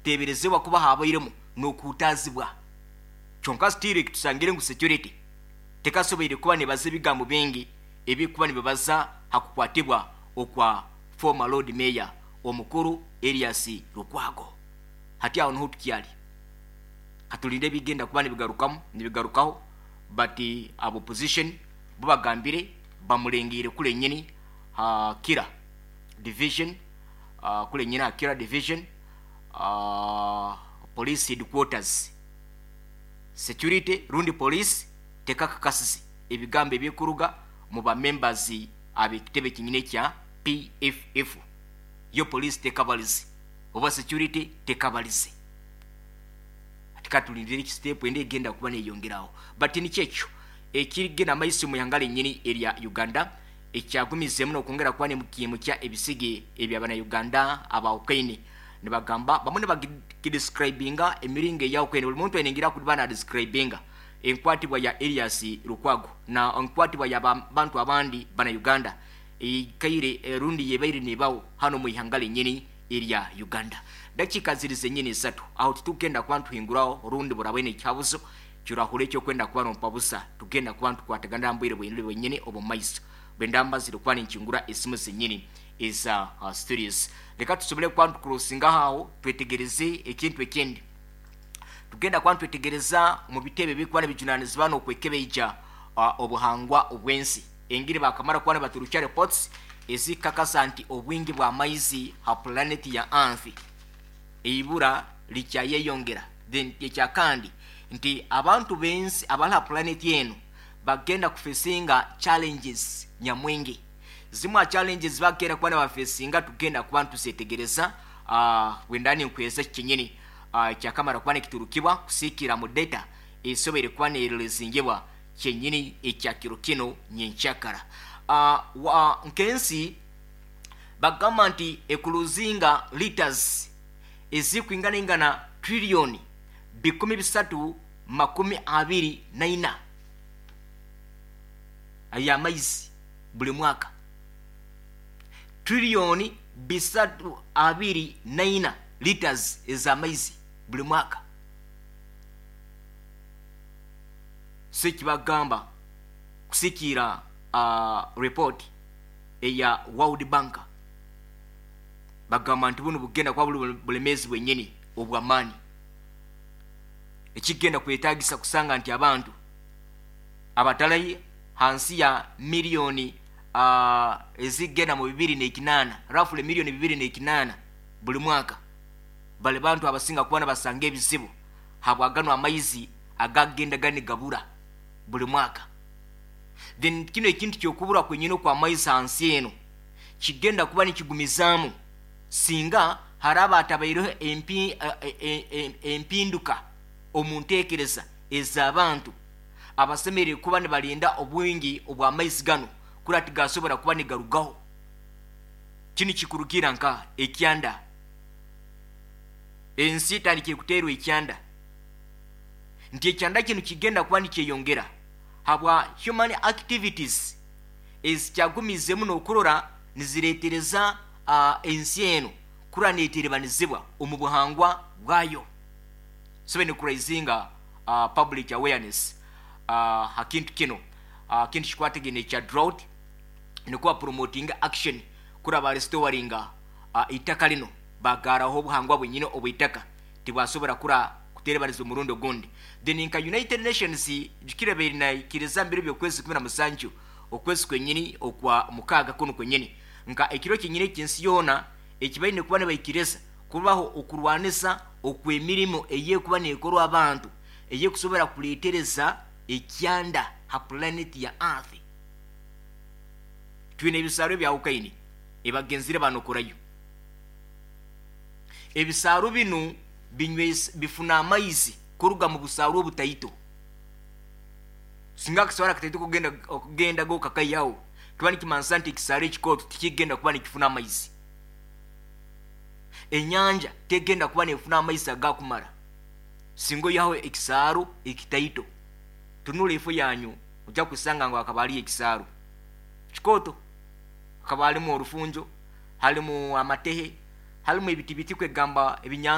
Nikuteeberezibwa kuba haabairemu n'okuhutaazibwa. Kyonka still eki tusangire ngu security tekasoboire kuba nebaza ebigambo bingi ebirikuba nibibaza ha kukwatibwa okwa former Lord Mayor omukuru Erias Lukwago. Hati aho niho tukyari. Katulinde ebigenda kuba nibigarukamu nibigarukaho but aba opposition bo bagambire bamurengeire kule nyini ha Kira division kule nyini ha Kira division police headquarters. Security rundi police tekakakasize ebigambo ebikuruga mu ba members ab'ekitebe kinyini ekya PFF. Yo police tekabalize oba security tekabalize. Hati katulindire eki step endi egenda kuba neyongeraho. But nikyo ekyo ekirigenda maiso mu ihanga lenyini erya Uganda ekyagumizemu n'okwongera kuba nimukimukya ebisige eby'abana-Uganda abawukaine. Nibagamba bamwe nibagidescribinga emiringo eyawukaine, buli muntu aine engeri akuba nadescribinga enkwatibwa ya Erias Lukwago na enkwatibwa ya bantu abandi bana-Uganda eikaire rundi yebaire nebaho hano mu ihanga lenyini erya Uganda. Dakiika ziri zenyini isatu aho titukugenda kuba nituhinguraho rundi burabaine ekihabuzo kirahura ekyokwenda kuba nompabusa, tugenda kuba nitukwatagana mbwire bwenyini omu maiso bwenda mbazire kuba ninkingura esimu zenyini eza studios. Leka tusobole kuba nitukurosinga aho twetegereze ekintu ekindi. Tugenda kuba nitwetegereza mu bitebe bikuba nibijunanizibwa n'okwekebeija obuhangwa obw'ensi. Engiri bakamara kuba nibaturukya reports ezikakasa nti obwingi bw'amaizi ha planet ya Earth eibura likyayeyongera. Then ekyakandi nti abantu b'ensi abali ha planet eno bagenda kufesinga challenges nyamwingi. Zimwe challenges bagenda kuba nibafesinga tugenda kuba nituzetegereza bwenda ninkweza kinyini kyakamara kuba nikiturukibwa kusikira mu data esoboire kuba nerelezingibwa kyenyini ekyakiro kino nyenkyakara. Nkensi bagamba nti ekuluzinga liters ezikwingana ingana trillion 324 ay'amaizi buli mwaka. Trillion 324 liters ez'amaizi buli mwaka. So ekibagamba kusikiira report eya World Bank, bagamba nti buno bugenda kuba buli bulemeezi bwenyini obw'amaani ekigenda kwetagisa kusanga nti abantu abatali hansi ya miliyoni ezigenda mu 208, roughly miliyoni 208 buli mwaka, bali bantu abasinga kuba nibasanga ebizibu habwagano amaizi agagenda ganigabura buli mwaka. Then kino ekintu kyokubura kwenyini okwa maizi hansi eno kigenda kuba nikigumizaamu singa haraba hatabaireho empinduka omu nteekereza ez'abantu abasemereire kuba nibarinda obwingi obw'amaizi gano kuri tigasobora kuba nigarugaho. Kinu kikurugira nka ekyanda. Ensi etandikire kuteerwa ekyanda. Nti ekyanda kinu kigenda kuba nikyeyongera habwa human activities ezikyagumizemu n'okurora nizireetereza ensi eno kura neeterebanizibwa omu buhangwa bwayo. So nikuraisinga public awareness ha kintu kino, kintu kikwatagine ekya drought, nikuba promoting action kura ba restoringa itaka lino bagaraho obuhangwa bwenyine obw'itaka tibwasobora kura kuterebaniza omurundi ogundi. Then nka United Nations jukira baire naikiriza mbere by'okwezi 17 okwezi kwenyini okwa mukaaga kuno kwenyini nka ekiro kyenyini eky'ensi yoona ekibaine kuba nibaikiriza kubaho okurwanisa okw'emirimo ey'ekuba neekorwa abantu ey'ekusobora kuleetereza ekyanda ha planet ya Earth. Twine ebisaaru ebyawukaine ebagenzire banokorayo. Ebisaaru binu bifuna amaizi kuruga mu busaaru obutaito. Singa akasaaru akataito okugenda go kakaihaho, kiba nikimanisa nti ekisaaru ekikooto tikigenda kuba nikifuna amaizi. Enyanja tegenda kuba nefuna amaizi agakumara singa oihaho ekisaaru ekitaito. Tunula efo yanyu ojja kusanga ngu hakaba hariyo ekisaaru kikooto, hakaba harimu orufunjo, harimu amatehe, harimu ebiti biti kwegamba ebinyansi.